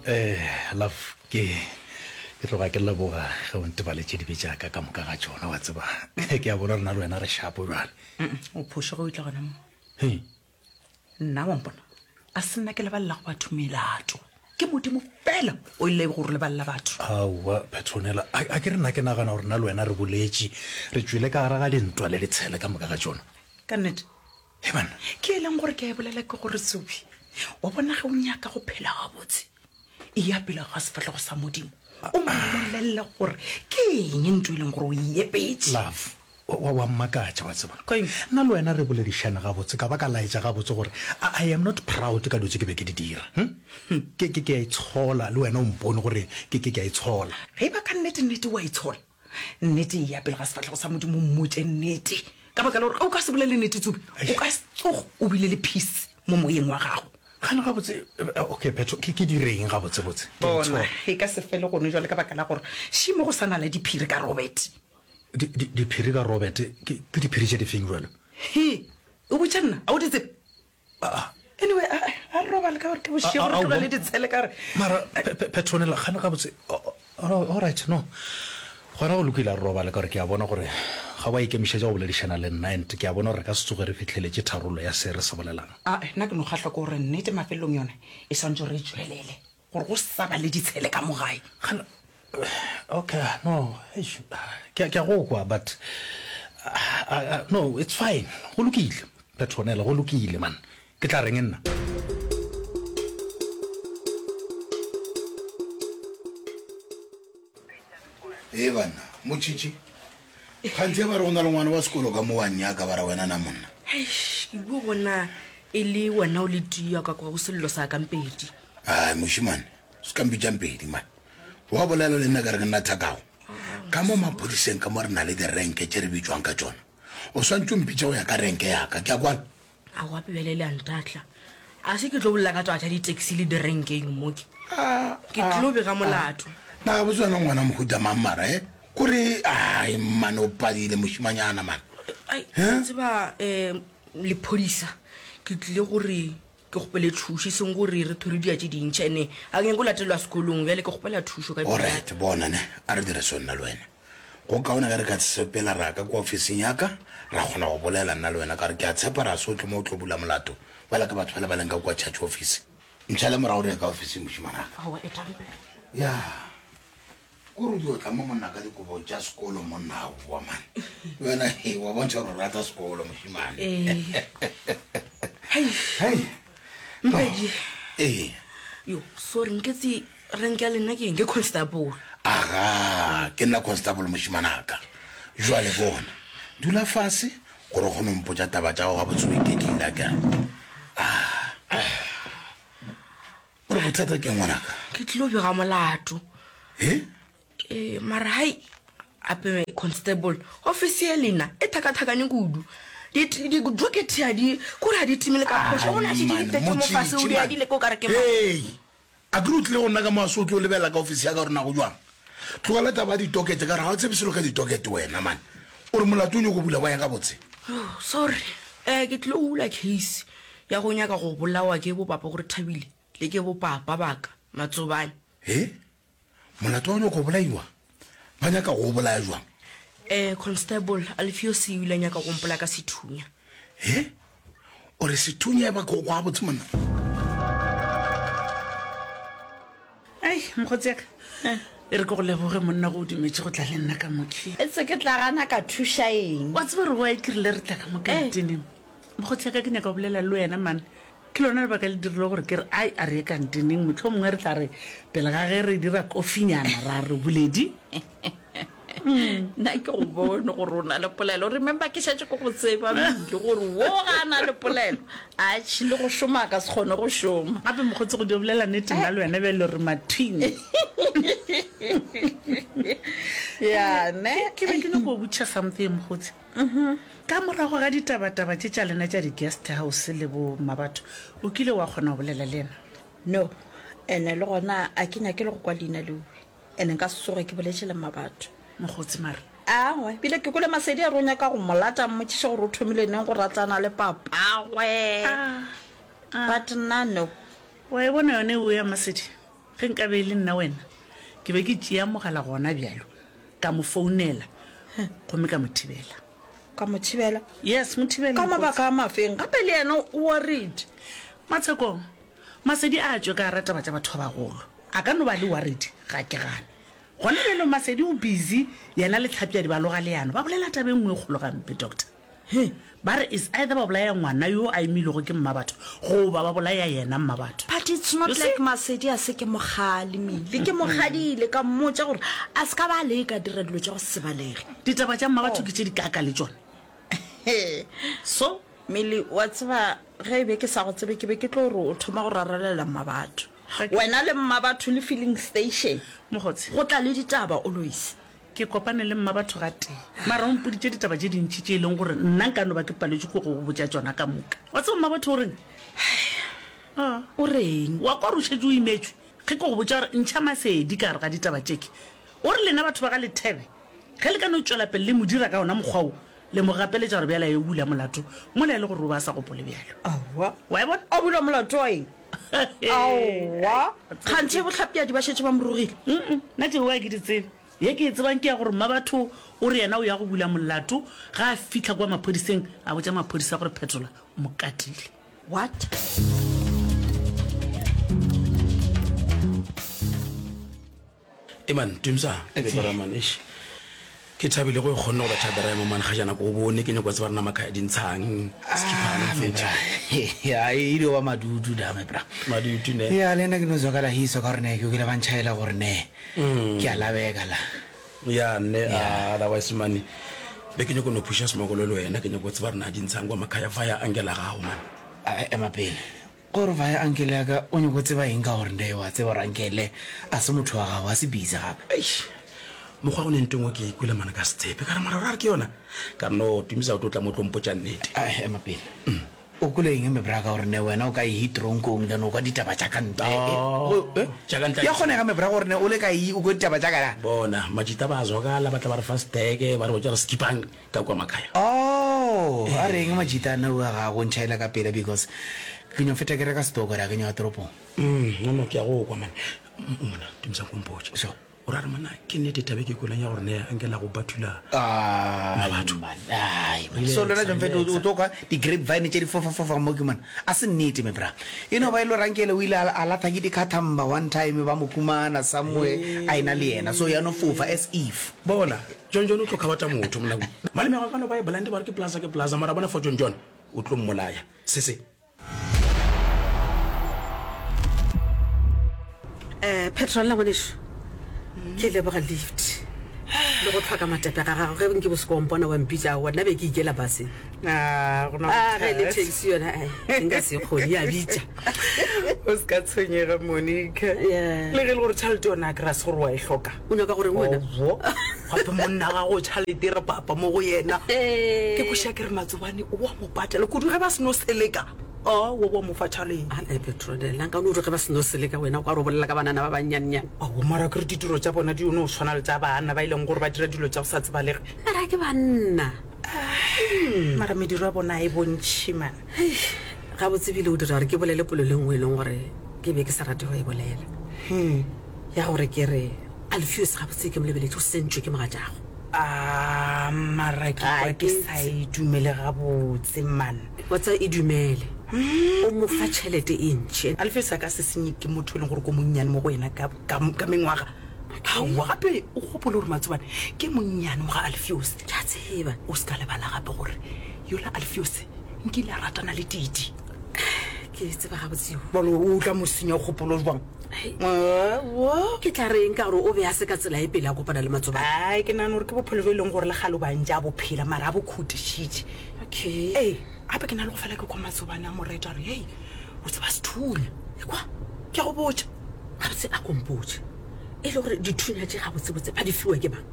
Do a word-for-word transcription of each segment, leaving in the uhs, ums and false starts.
Eh, love, ke ke tloga ke leboga ge o ntebaletše dibe tša ka ka moka ga tšona, wa tseba. Ke a bona rena le wena re shapo bjale. O phošo ge o tla gona mo. Hei. Nna wa mpona, a se nna ke lebalela go batho melato. Ke Modimo fela o ile go re lebalela batho. Aowa, Petronella, a, a ke re nna ke nagana gore nna le wena re boletše, re tšwele ka gare ga dintwa le ditshele ka moka ga tšona. Ka nnete. He banna. Ke e leng gore ke a e bolela ke gore Tsubi, wa bona ge o nyaka go phela gabotse, e ya pele ga sefahlego sa Modimo, o mo bolelele gore ke eng ntho e leng gore o e epetše. Love, wa, wa, wa mmakatša, wa tseba. Keng? Nna le wena re boledišane gabotse, ka ba ka laetša gabotse gore I, I am not proud ka dilo tše ke be ke di dira. Hm? Ke, ke, ke a itshola, le wena o mpone gore ke, ke, ke a itshola. Ge e ba ka nnete-nnete o a itshola, nnete e ya pele ga sefahlego sa Modimo, o mmotše nnete. Ka baka la gore ge o ka se bolele nnete, Tsubi, o ka se tsoge o bile le peace mo moyeng wa gago. Gane gabotse, okay, Phetho, ke, ke direng gabotsebotse? Ke Bona, itshola. e ka se fele gone jwale ka baka la gore šimo go sa na le diphiri ka Robert. Di, di, diphiri ka Robert? Ke, ke diphiri tše difeng bjalo? He, o botša nna, a o di tsebe? Ah. Anyway, a, a re robale ka gore ke bošego, re tlogele ditshele ka gore. Mara, Pe, Pe, Petronella, gane gabotse, all right, no. Gona go lokile, a re robale ka gore ke a bona gore ga wa ikemišetša go boledišana le nna and ke a bona gore re ka se tsoge re fihleletše tharollo ya se re se bolelang. Ae, nna ke no kgahlwa ke gore nnete mafelelong yona e swanetše gore e tšwelele gore go sa ba le ditshele ka mo gae. Gana, okay, no, eish, ke a, ke a go kwa, but, uh, no, it's fine, go lokile, Petronella, go lokile, man. Ke tla reng nna? Ee banna, Motšhitšhi, kganthe ba re go na le ngwana wa sekolo ka mo wa nnyaka ba re wena na monna? Eish, ke bua bona e le wena o le tia ka kwa go sello sa ka Mpedi. Ai mošemane, se ka mpitša Mpedi man. Wa bolela le nna ka re ke nna thakago. Ka mo maphodiseng ka mo re na le direnke tše re bitšwang ka tšona. O swantše o mpitše go ya ka renke ya ka, ke a kwana? Aowa bjale le a ntahla. A se ke tlo bolela ka taba tša di-taxi le direnkeng mo ke. Ke tlo bega molato. Na gabotse wena o ngwana mohuta mang mara he? Kore ai mane o padile mošimanyana man. Ai, wa tseba um lephodisa ke tlile gore ke kgopele thušo e seng gore re thore dia tše dintši ene ga ke nyake go latelwa sekolong bjale ke kgopela thušo ka Alright, bona ne a re dire so nna le wena. Go kaone ge re ka sepela ra ka kua ofising ya ka, ra kgona go bolela nna le wena, ka gore ke a tshepa ra se o tle mo o tlo bula molato bjalo ka batho bale ba leng ka kua church office. Ntšhale morago re ye ka ofising, mošemanaka. Aowa, etang pele. Ya, kore o dio tla mo monna ka dikobo tša sekolo monna, aowa man. Le wena he, wa bontšha gore o rata sekolo mošemane. Ee. Hei. Hei. Mpedi. Ee. Yo, sorry, nketse rank ya lena ke eng? Ke constable. Aga, ke nna constable mošimanaka. Jwale bona, dula fase gore o kgone go mpotša taba tša gago gabotse o iketlile akere. Ah. O re bothata ke eng ngwanaka? Ke tlilo bega molato. He? Ee, mara hai ape constable, office ya lena e thakathakane kudu. Di-docket ha di, kore ha di timele ka phošo. Go na šetše di tletše mo fase, o di adile ke o ka re ke mang. Hei! A ke re o tlile go nna ka mo a se o tlo lebelela ka ofisi ya ka gore na go jwang? Tlogela taba ya ditokete ka gore ga o tsebe selo ka ditokete wena man. O re molato o nyoko bula wa eng gabotse? Oh, sorry. Eh, ke tlilo bula case ya go nyaka go bolawa ke bopapa gore Thabile le ke bopapa ba ka, Matsobane. He? Molato wa go nyaka go bolaiwa? Ba nyaka go o bolaya jwang? Eh, Constable Alfios o ile a nyaka go mpolaya ka sethunya. He? O re sethunya e ba ke go kwa gabotse monna? Ai, mokgotsi ya ka, e re ke go leboge monna go o dumetše go tla le nna ka mo ke. Etse ke tla gana ka thuša eng? Wa tseba gore why ke rile re tla ka mo kantineng? Mokgotsi ya ka ke nyaka go bolela le wena man. Ke lona lebaka le dirile gore ke re ai a re ye kantineng mohlomongwe re tla re pele ga ge re dira kofinyana ra re boledi. Nna ke go bone gore o na le polelo. Remember ke šetše ke go tseba mmile gore wo ga a na le polelo. Atšhe le go šoma a ka se kgone go šoma. Gape mokgotsi go dio bolela nnete nna le wena bjale re mathwing. Ya ne. Ke be ke nyako go botšiša something mokgotsi. Ka morago ga ditabataba tše tša lena tša di-guest house le bo mmabatho, o kile wa kgona go bolela le yena? No. Ene le gona a ke nyake le go kwa leina leo. Ene nka se tsoge ke boletše le mmabatho. Mokgotsi mara. Aowa, ebile ke kwele Masedi a re o nyaka go mo lata, a mmotšiše gore o thomile neng go ratana le papagwe. But nna no. Wa e bona yona eo ya Masedi? Ge nkabe e le nna wena, ke be ke tšea mogala gona bjalo, ka mo founela gomme ka mo thibela. Ka mo thibela? Yes, mo thibele. Ka mabaka a mafeng? Gape le yena o worried. Matshekong, Masedi a tšwe ka gara taba tša batho ba bagolo. A ka no ba le worried, ga ke gane. Gona bjalo Masedi o busy, yena le Tlhapjadi ba loga leano, ba bolela taba e nngwe e kgolo gampe, Doctor. He, ba re is either ba bolaya ngwana yo a imilwego ke mmabatho goba ba bolaya yena mmabatho. But it's not You see? like Masedi a se ke mo kgalemile. Ke mo kgadile ka mmotša gore a se ka ba a leka dira dilo tša go se balege. Ditaba tša mmabatho ke tše di kaaka le tšona. So? Milly, wa tseba ge e be ke sa go tsebe ke be ke tlo re o thoma go rarelela mmabatho. Ga ke. Wena le mmabatho le filling station. Mokgotse. Go tla le ditaba always. Ke kopane le mmabatho gatee, mara o mpoditše ditaba tše dintši tše e leng gore nna nka no ba ke paletšwe ke go go botša tšona ka moka. Wa tseba mmabatho o reng? Ah. O reng? Wa kwa gore o šetše o imetšwe ge ke go botša gore ntšha masedi ka gare ga ditaba tše ke. O re lena batho ba ga Lethebe, ge le ka no tšwela pele le mo dira ka wona mokgwa wo, le mo gapeletša gore bjale a yo bula molato mola e le gore o be a sa gopole bjalo. Aowa. Wa e bona? A bula molato wa eng? Aowa. Kganthe bohlapjadi ba šetše ba mo rogile? Mm-mm, nna tšeo ga ke di tsebe. Ye ke e tsebang ke ya gore Mmabatho o re yena o ya go bula molato ge a fihla kua maphodiseng, a botša maphodisa gore Phetola o mo katile. What? Eman, Tumsa, ke bara man, eish. Ke thabile go e kgonne go betha bera mo man ga jana ko bone ke nyako tseba rena makhaya dintshang skiphane mfethu. Ya e dio ba madudu da me bra. Madudu ne. Ya le nna ke no zwakala hiso ka gore ne ke kwele ba ntšhaela gore ne ke a labeka la. Ya ne otherwise man be ke nyako no phusha smokolo le wena ke nyako tseba rena dintshang kwa makhaya via angela gago man. A ema pele. Gore via uncle ya ka o nyako tseba eng ka gore nde wa tseba gore uncle a se motho wa gago a se busy gape. Eish mokgwa go ne nto engwe ke e kwele mane ka se tshepe ka re mara ra re ke yona ka re no Tumisa o tlo tla mo tlo mpotša nnete. A ema pele. O kwele eng me bra ka gore ne wena o ka yi tronkong then o kwa ditaba tša ka ntle. Oh, tša ka ntle. Ya kgonega me bra gore ne o le ka yi o kwe ditaba tša ka na. Bona majita ba zwakala ba tla ba re fa steke ba re botša re skipang ka kwa makhaya. Oh, a reng majita a na ua ga go ntšhaela ka pela because ke nyo feta ke reka stoko ra ke nyo ya toropong. Mm, no no ke a go kwa man. Mona Tumisa ko mpotše. Sure. O ra re monna ke nnete taba e ke kweleng ya gore ne anke la go bathula Ai, Mabatho. man, ai, man. So lena John Fete, o tlo kwa di-grapevine tše di fofa-fofa mo ke mona. A se nnete, me bra. E no ba e le gore Ankele o ile a, a latha ke dikhathamba one time ba mo khumana somewhere a ena le yena. So ya no fofa as if. Bona, John John o tlo kgabatha motho monna. Malome wa ka no ba e blind ba re ke plaza ke plaza mara bona for John John o tlo mmolaya. Se se. Um Petrol ngwaneso, ke leboga lift le go tlhoka matepe ga gago. Ge nke bo se ko mpona wa mpitša, aowa nna be ke ikela baseng. Ah, go na Ah, ge e le bothata. taxi yona, ai, nka se kgone, ya bitša. O se ka tshwenyega, Monica. Yeah. Le ge e le gore tšhelete yona a ke ra se gore wa e hloka. O nyaka goreng wena? Owo. Gape monna gago tšhelete re papa mo go yena. Eh. Ke kweša ke re Matsobane o a mo patela kudu ge ba seno seleka. A, wa wa mo fa tšhalete. A, eh, Petronella, nka no re ge ba seno seleka wena o ka re o bolela ka banana ba bannyannyane. Aowa, mara ke re ditiro tša bona di no swana le tša banna ba e leng gore ba dira dilo tša go sa tsebalege. Mara ke banna. Ah, mara mediro ya bona e bontšhi, man. Hei, gabotse ebile o dira gore ke bolele polelo e nngwe e leng gore ke be ke sa rate go e bolela. Hmm. Ya gore ke re Alfios gabotse ke mo lebeletše o sentšwe ke mogatšago. A, mara ke A, kwa ke ke sa e dumele gabotse, man. Wa tseba e dumele. O mo fa tšhelete e ntši. Alfios a ka se senye ke motho e leng gore ko monnyane mo go yena ka, ka, ka mengwaga. Aowa, gape o gopole gore Matsobane ke monnyane mo ga Alfios. Ke a tseba. O se ka lebala gape gore yola Alfios nkile a ratana le Titi. Ke tseba gabotse yo. Bjale o tla mo senya kgopolo jwang? Hei. Aowa. Ke tla reng ka gore o be a se ka tsela e pele a kopana le Matsobane? Ai, ke nagana gore ke bophelo jo e leng gore le kgale o ba ntše a bophela, mara a bo khutišitše. Okay. Ee, gape ke na le go fela ke kwa Matsobane a mo reta a re, hei, o tseba sethunya. Ekwa. Ke a go botša. Gabotse a kompotše. E le gore dithunya tše gabotsebotse ba di fiwa ke mang?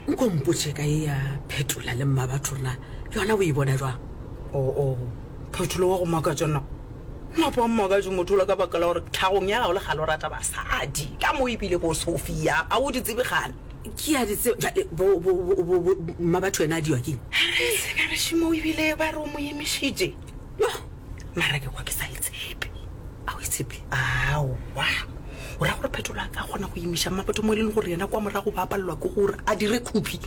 Nko mpotše ka e ya Phetola le Mmabatho rena, yona o e bona jwang? Oh, oh, Phetola wa go makatša na? Napa wa mmakatše motho ola ka baka la gore tlhagong ya gago le kgale o rata basadi. Ka mo ebile bo Sophia, a o di tsebe kgale? Ke a di tseba. Jwale, bo, bo, bo, bo, bo, Mmabatho yena a diwa keng? Re se ka re šimo ebile ba re o mo emišitše. Yo. Mara ke kwa ke sa e tshepe. A o e tshepe? Tshepe? Aowa. O ra gore Phetola a ka kgona go imiša Mmabatho mo e leng gore yena kwa morago ba palelwa ke gore a dire khuphi?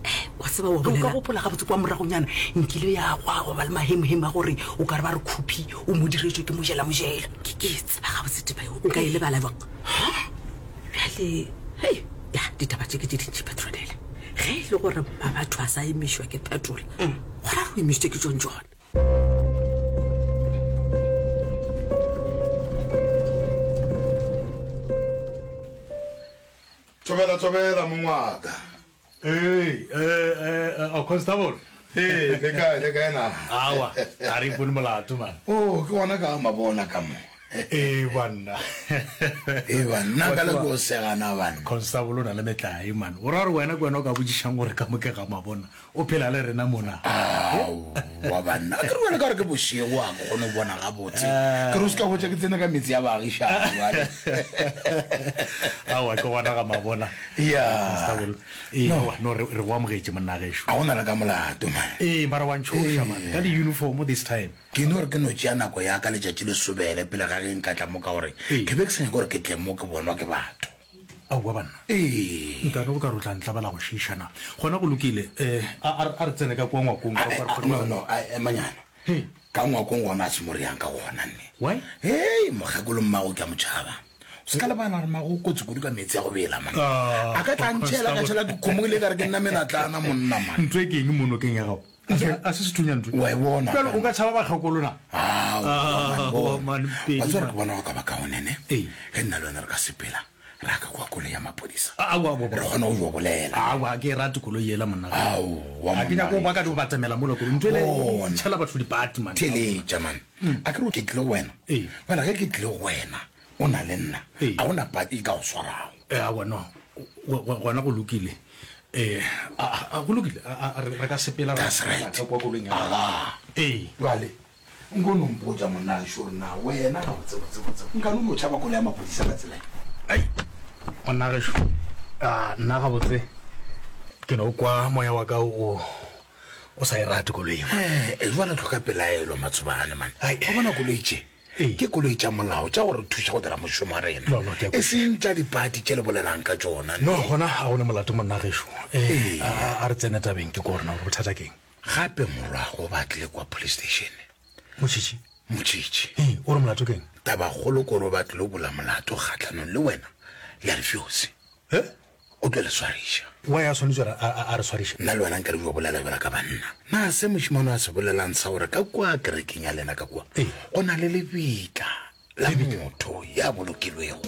Eh, wa tseba wa Ge o ka bolela. gopola gabotse kwa moragonyana nkile ya gwa gwa ba le mahemohemo a gore o ka re ba re khuphi o mo diretšwe ke mojela mojela. Ke ke e tseba gabotse taba eo, nka e lebala bjang? Bjale, hei, ya, ditaba tše ke tše dintši Petronella. Ge e le gore Mmabatho a sa emišwa ke Phetola, gona re o emišitše ke John John. Thobela, thobela, mong wa ka. Ee, eh, eh, oh, constable. Ee, le kae, le kae na? Awa, a re ipone molato, man. Oh, ke gona ka mabona ka mo. Ee, banna. Ee, banna, ka le ko segana, banna. Constable o na le metlae, man. O ra gore wena ke wena o ka botšišang gore ka mo ke ga mabona. O phela le rena mona. Aowa, banna. Ke re bjale ka gore ke bošego, a ke kgone go bona gabotse. Ke re o se ka hwetša ke tsene ka metse ya baagišani bjale. Aowa, ke gona ga mabona. Ya. Constable. Ee, aowa, no, re, re go amogetše, monna gešo. A go na le ka molato, man. Ee, mara wa ntšhoša, man, ka di-uniform this time. Ke no re ke no tšea nako ya ka letšatši le sobele pele ga ge nka tla mo ka gore ke be ke sa nyake gore ke tle mo ke bonwa ke batho. Aowa banna. Ee. Nkane o ka re o tla ntlabela go šiiša na? Gona go lokile. Eh, a, a, a re tsene ka kua ngwakong ka kwa re kgone No, go. no, a, emanyana. Hei. Ka ngwakong gona a se mo re yang ka gona nne. Why? Hei, mokgekolo mmago ke a mo tšhaba. O se ka lebala gore mmago o kotsi kudu ka meetse a go bela, man. Ah, A ka tla ntšhela ka tšhela ke kgomo ile ka re ke nna menatlana monna, man. Ntho e ke eng mo nokeng ya gago? A se sethunya ntho. Wa e bona. Bjale o ka tšhaba bakgekolo na? Aowa, Aowa, man, pedi, Wa tseba man. gore ke bona go ka ba kaone ne? Ee. Ge nna le wena re ka sepela ra ka kwa koloi ya maphodisa. Aowa, aowa, Re kgona go yo bolela. Aowa, ga ke e rate koloi yela monna. Aowa, Ga ke nyake go monna. ba ka di go batamela mola koloi. Ntho ele Bona. e tšhela batho dipati, man. Theeletša, man. A ke re ke tlile go wena. Ee. Bjale ge ke tlile go wena, o na le nna. Ee. A gona pati e ka go swarago. Eh, aowa, no. Go, go, gona go lokile. Eh, a, a, go lokile. A, a, re, re ka sepela ra That's right. ka kwa koloing ya gago. Aga. Ee. Bjale, nko no mpotša monna gešo gore na wena gabotsebotsebotse nka no no tšhaba koloi ya maphodisa ka tsela e? Ai, monna gešo, a, nna gabotse ke no kwa moya wa ka o, o sa e rate koloi e. Eh, eh, jwale tlhoka pelaelo Matsobane, man. Ai. Wa bona koloi tše? Ee. Ke koloi tša molao tša go re thuša go dira mošomo wa rena. No, no, ke a E kwešiša. seng tša dipati tše le bolelang ka tšona. No, gona ga go ne molato monna gešo. Eh, Ee. a, a, a re tsene tabeng ke ko rena gore bothata keng. Gape morwago ba tlile kwa police station. Motšhitšhi? Motšhitšhi. Ee, o re molato keng? Tabakgolo ke gore o ba tlile go bula molato kgahlanong le wena le Alfios. He? O tlo le swariša. Why a swanetše gore a, a, a re swariše? Nna le wena nka re yo bolela bjalo ka banna. Na se mošemane a se bolelang sa gore ka kua kerekeng ya lena ka kua Ee. go na le lebitla la motho ya bolokilwego?